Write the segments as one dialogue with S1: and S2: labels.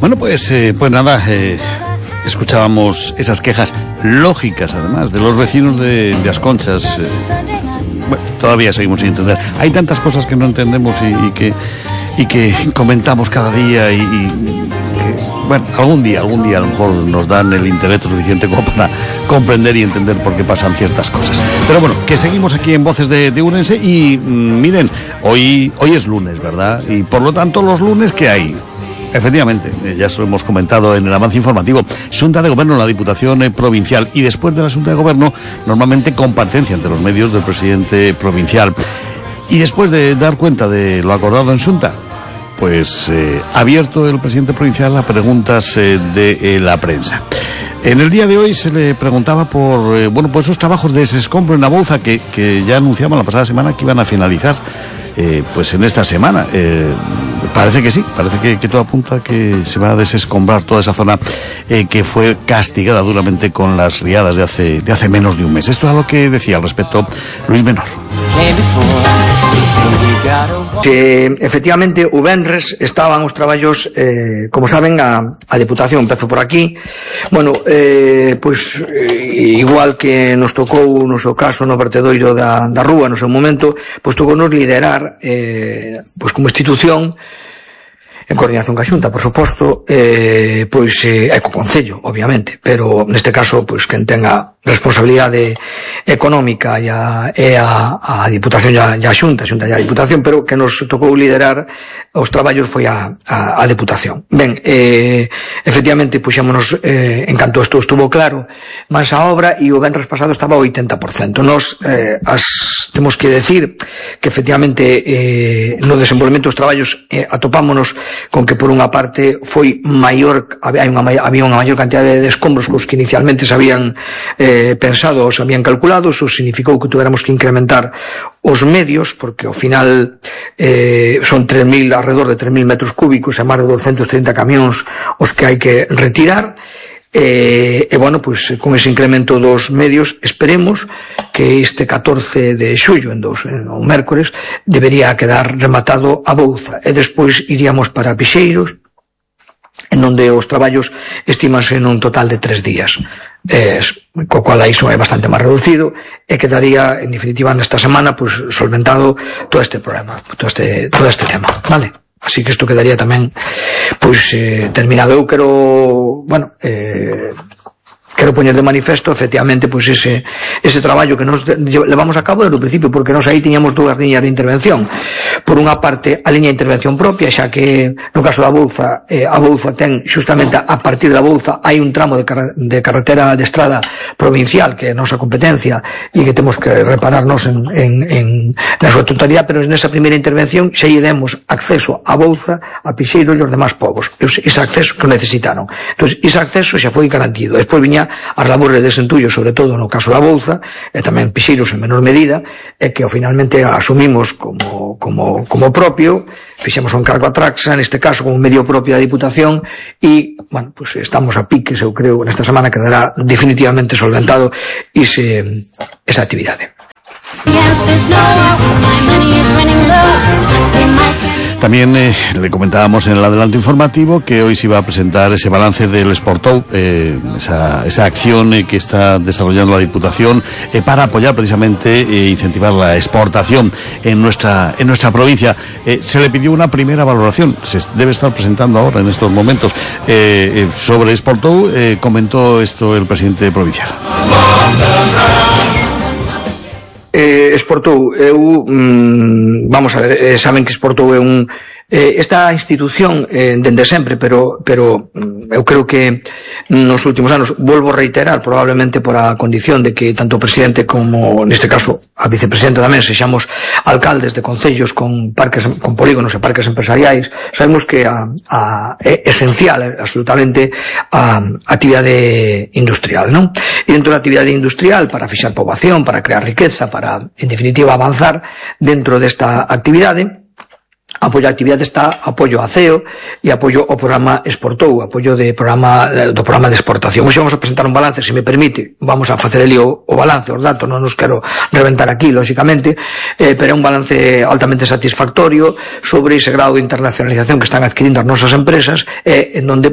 S1: Bueno, pues nada, escuchábamos esas quejas lógicas, además, de los vecinos de Asconchas. Bueno, todavía seguimos sin entender. Hay tantas cosas que no entendemos y que comentamos cada día y que, bueno, algún día a lo mejor nos dan el intelecto suficiente como para comprender y entender por qué pasan ciertas cosas. Pero bueno, que seguimos aquí en Voces de Ourense y miren, hoy es lunes, ¿verdad? Y por lo tanto los lunes, ¿qué hay? Efectivamente, ya se lo hemos comentado en el avance informativo, Xunta de Gobierno en la Diputación Provincial, y después de la Xunta de Gobierno normalmente comparecencia ante los medios del presidente provincial, y después de dar cuenta de lo acordado en Xunta, pues abierto el presidente provincial a preguntas de la prensa. En el día de hoy se le preguntaba por esos trabajos de desescombro en Abouza que ya anunciaban la pasada semana que iban a finalizar pues en esta semana. Parece que sí, parece que todo apunta que se va a desescombrar toda esa zona que fue castigada duramente con las riadas de hace menos de un mes. Esto es lo que decía al respecto Luis Menor.
S2: Efectivamente, o venres estaban os traballos, como saben, a Deputación empezou por aquí. Bueno, igual que nos tocou no seu caso no vertedoiro da rúa no seu momento, pois tocou nos liderar como institución, en coordinación ca Xunta, por suposto, e co Concello, obviamente, pero neste caso, quen tenga responsabilidade económica e a Diputación e a Xunta e a Diputación, pero que nos tocou liderar os traballos foi a Deputación. Ben, efectivamente, puxémonos, en canto isto estuvo claro, máis a obra, e o venres pasado estaba ao 80%. Nos temos que decir que, efectivamente, no desenvolvemento dos traballos atopámonos con que, por unha parte, foi maior, había unha maior cantidade de escombros cos que inicialmente se habían pensado ou se habían calculado. Eso significou que tuéramos que incrementar os medios, porque ao final son alrededor de 3.000 metros cúbicos e máis de 230 camións os que hai que retirar. Con ese incremento dos medios esperemos que este 14 de xullo, o mércores, debería quedar rematado Abouza, e despois iríamos para Pixeiros, en onde os traballos estimanse nun total de 3 días, co cual iso é bastante máis reducido, e quedaría, en definitiva, nesta semana solventado todo este problema, todo este tema, vale? Así que isto quedaría tamén terminado. Eu quero poñer de manifesto, efectivamente, ese traballo que nos levamos a cabo desde o principio, porque nos aí tiñamos dúas liñas de intervención. Por unha parte, a liña de intervención propia, xa que no caso da Abouza, Abouza ten, xustamente a partir da Abouza, hai un tramo de carretera de estrada provincial, que é a nosa competencia, e que temos que repararnos na súa totalidade, pero nesa primeira intervención xa lle demos acceso a Abouza, a Pixeiros e os demás povos. Ese acceso que necesitaron. Entón, ese acceso xa foi garantido. Despois viña as labores de desentullo, sobre todo no caso da Abouza, e tamén Pixeiros en menor medida, e que finalmente asumimos como propio, fixemos un encargo a Traxa, neste caso como medio propio da Diputación, e, estamos a piques, eu creo, nesta semana quedará definitivamente solventado esa actividade.
S1: También le comentábamos en el adelanto informativo que hoy se iba a presentar ese balance del Exportou, esa acción que está desarrollando la Diputación para apoyar precisamente e incentivar la exportación en nuestra provincia. Se le pidió una primera valoración, se debe estar presentando ahora en estos momentos sobre Exportou. Comentó esto el presidente provincial.
S2: Exportou, vamos a ver, saben que Exportou é esta institución dende sempre, pero eu creo que nos últimos anos, volvo a reiterar, probablemente por a condición de que tanto o presidente como, neste caso, a vicepresidenta tamén, sexamos alcaldes de concellos con polígonos e parques empresariais, sabemos que é esencial, absolutamente, a actividade industrial, non? E dentro da actividade industrial, para fixar poboación, para crear riqueza, para, en definitiva, avanzar dentro desta actividade, Apoio á actividade está apoio a CEO e apoio ao programa Exportou, apoio do programa de exportación. Hoxe vamos a presentar un balance, se me permite, vamos a facer ali o balance, os datos, non nos quero reventar aquí, lóxicamente, pero é un balance altamente satisfactorio sobre ese grado de internacionalización que están adquirindo as nosas empresas, en donde,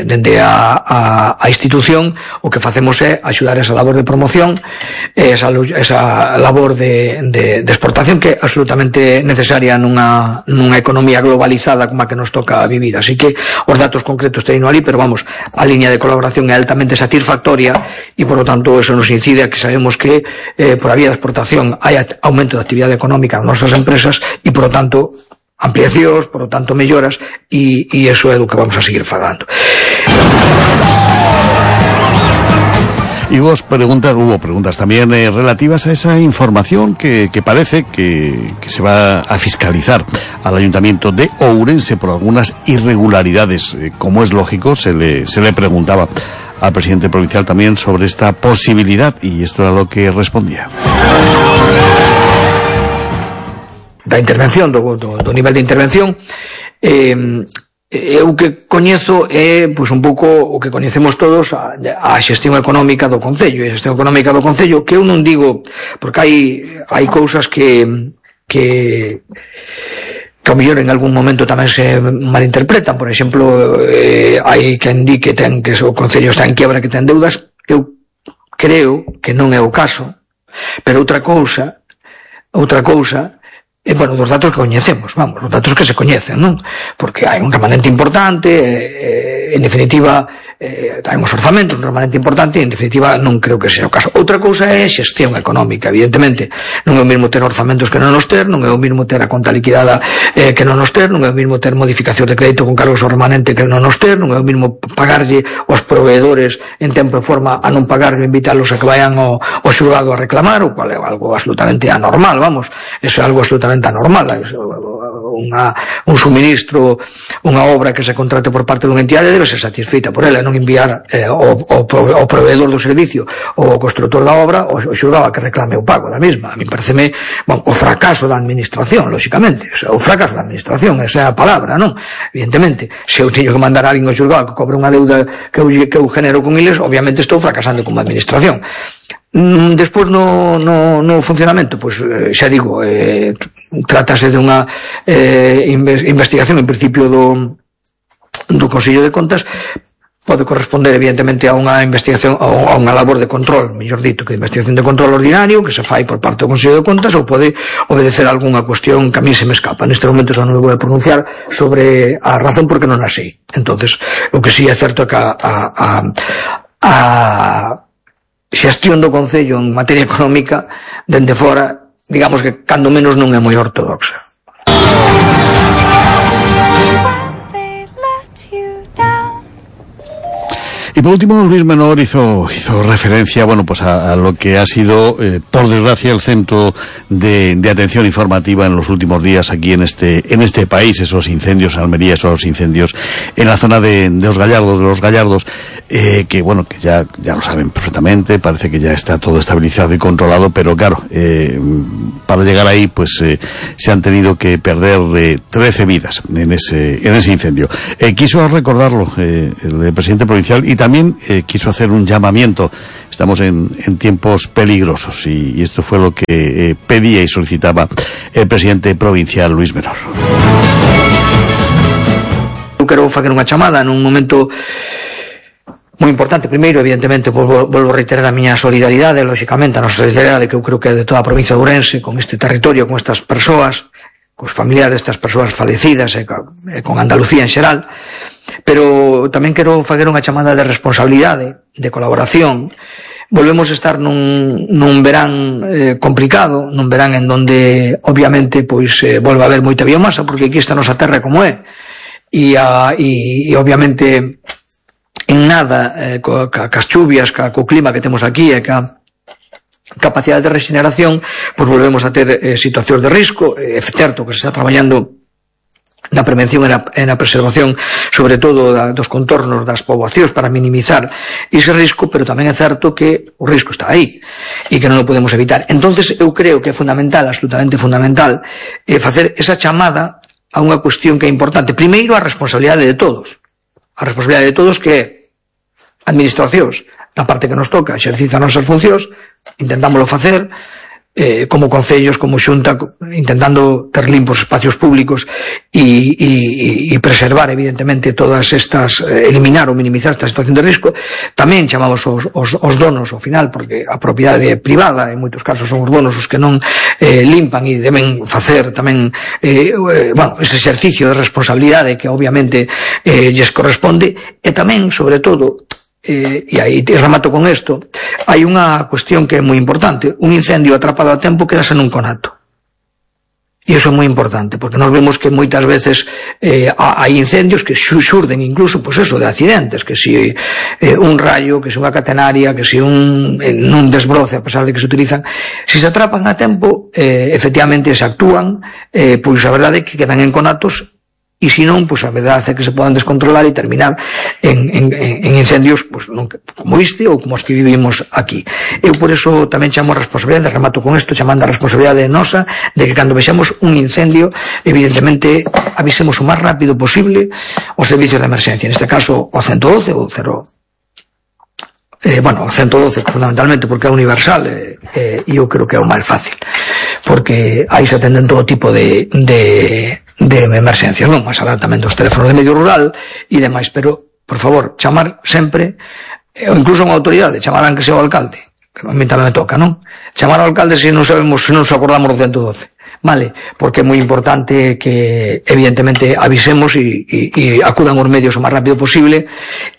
S2: dende a institución, o que facemos é axudar esa labor de promoción, esa labor de exportación que é absolutamente necesaria nunha economía globalizada como a que nos toca vivir. Así que os datos concretos teñen ali, pero vamos, a liña de colaboración é altamente satisfactoria e, por lo tanto, eso nos incide a que sabemos que por a vía da exportación hai aumento de actividade económica nas nosas empresas e, por lo tanto, ampliacións, por lo tanto, melloras e eso é do que vamos a seguir falando.
S1: Y hubo preguntas también relativas a esa información que parece que se va a fiscalizar al Ayuntamiento de Ourense por algunas irregularidades. Como es lógico, se le preguntaba al presidente provincial también sobre esta posibilidad y esto era lo que respondía.
S2: Da intervención, do nivel de intervención, o que coñezo é un pouco o que coñecemos todos, a xestión económica do Concello. E a xestión económica do Concello, que eu non digo, porque hai cousas que ao mellor en algún momento tamén se malinterpretan. Por exemplo, hai quen di que o Concello está en quiebra, que ten deudas. Eu creo que non é o caso, pero outra cousa dos datos que coñecemos, os datos que se coñecen, non? Porque hai un remanente importante, en definitiva, hai uns orzamentos, un remanente importante, e en definitiva non creo que sea o caso. Outra cousa é a xestión económica, evidentemente. Non é o mesmo ter orzamentos que non os ter, non é o mesmo ter a conta liquidada que non os ter, non é o mesmo ter modificación de crédito con cargos ao remanente que non os ter, non é o mesmo pagarlle aos proveedores en tempo e forma a non pagarlle, invitarlos a que vayan ao xulgado a reclamar, o cual é algo absolutamente anormal, eso é algo absolutamente anormal. Un suministro, unha obra que se contrate por parte dunha entidade debe ser satisfeita por ela, non enviar ao proveedor do servicio ou ao constructor da obra o xulgado a que reclame o pago da mesma. A mí pareceme o fracaso da administración, lóxicamente, o fracaso da administración, esa é a palabra, non? Evidentemente, se eu teño que mandar a alguén ao xulgado que cobre unha deuda que eu genero con eles, obviamente estou fracasando como administración. Despois no funcionamento, xa digo, trátase de unha investigación en principio do Consello de Contas. Pode corresponder evidentemente a unha investigación, a unha labor de control, mellor dito, que investigación de control ordinario que se fai por parte do Consello de Contas, ou pode obedecer a algunha cuestión que a mí se me escapa. Neste momento xa non me vou a pronunciar sobre a razón porque non a sei. Entonces, o que sí é certo é que a xestión do Concello en materia económica dende fora, digamos que cando menos non é moi ortodoxa.
S1: Y por último, Luis Menor hizo referencia, a lo que ha sido, por desgracia, el centro de atención informativa en los últimos días aquí en este país, esos incendios en Almería, esos incendios en la zona de los Gallardos, que ya lo saben perfectamente, parece que ya está todo estabilizado y controlado, pero claro, para llegar ahí, se han tenido que perder 13 vidas en ese incendio. Quiso recordarlo el presidente provincial y también quiso hacer un llamamiento. Estamos en tiempos peligrosos y esto fue lo que pedía y solicitaba el presidente provincial Luis Menor.
S2: Eu quero facer unha chamada nun momento moi importante. Primeiro, evidentemente, volvo a reiterar a miña solidaridade, lóxicamente, a nosa solidaridade, que eu creo que é de toda a provincia de Ourense, con este territorio, con estas persoas, cos familiares destas persoas falecidas e con Andalucía en xeral. Pero tamén quero facer unha chamada de responsabilidade, de colaboración. Volvemos a estar nun verán complicado, nun verán en donde obviamente volve a haber moita biomasa, porque aquí esta nosa terra como é, e obviamente en nada cas chuvias, co clima que temos aquí e ca capacidade de regeneración, volvemos a ter situacións de risco. É certo que se está traballando na prevención e na preservación, sobre todo dos contornos das poboacións, para minimizar ese risco, pero tamén é certo que o risco está aí e que non o podemos evitar. Entonces eu creo que é fundamental, absolutamente fundamental, facer esa chamada a unha cuestión que é importante. Primeiro, a responsabilidade de todos. A responsabilidade de todos que é administracións, na parte que nos toca, exercita as nosas funcións, intentámoslo facer, como concellos, como xunta, intentando ter limpos espacios públicos e preservar, evidentemente, todas estas, eliminar ou minimizar esta situación de risco. Tamén chamamos os donos ao final, porque a propiedade privada, en moitos casos, son os donos os que non limpan e deben facer tamén ese exercicio de responsabilidade que obviamente lles corresponde. E tamén, sobre todo, e aí te remato con isto, hai unha cuestión que é moi importante: un incendio atrapado a tempo quedase nun conato, e iso é moi importante, porque nos vemos que moitas veces hai incendios que xurden incluso, pois eso, de accidentes, que si un rayo, que si unha catenaria, que si un desbroce, a pesar de que se utilizan, si se atrapan a tempo, efectivamente se actúan, pois a verdade é que quedan en conatos. E se non, pois a verdade é que se poden descontrolar e terminar en incendios, pois, como este ou como os que vivimos aquí. Eu por eso tamén chamo a responsabilidade, remato con isto, chamando a responsabilidade nosa, de que cando vexamos un incendio, evidentemente avisemos o máis rápido posible os servicios de emerxencia, neste caso o 112 ou 0. O 112 fundamentalmente porque é universal, e eu creo que é o máis fácil, porque aí se atenden todo tipo de emerxencias, non? Máis alá tamén dos teléfonos de medio rural e demais, pero, por favor, chamar sempre, ou incluso unha autoridade, chamarán que sea o alcalde, que a mí tamén me toca, non? Chamar ao alcalde se non sabemos, se non nos acordamos do 112. Vale, porque é moi importante que evidentemente avisemos e acudan os medios o máis rápido posible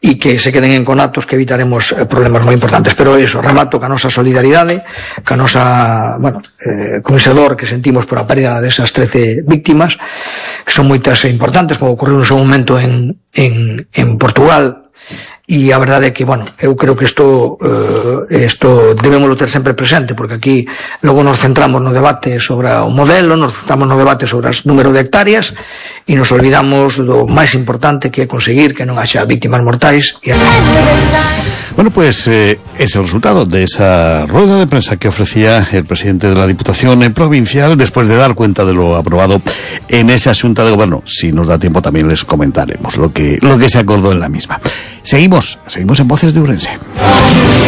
S2: e que se queden en conatos, que evitaremos problemas moi importantes. Pero iso, remato ca nosa solidaridade, ca nosa, comisador que sentimos por a pérdida desas 13 víctimas, que son moitas e importantes, como ocorreu no seu momento en Portugal. E a verdade é que, eu creo que isto debémoslo ter sempre presente, porque aquí logo nos centramos no debate sobre o modelo, nos centramos no debate sobre o número de hectáreas e nos olvidamos do máis importante, que é conseguir que non haxa víctimas mortais.
S1: Bueno, pues es el resultado de esa rueda de prensa que ofrecía el presidente de la Diputación Provincial después de dar cuenta de lo aprobado en esa Xunta de Gobierno. Si nos da tiempo también les comentaremos lo que se acordó en la misma. Seguimos en Voces de Ourense.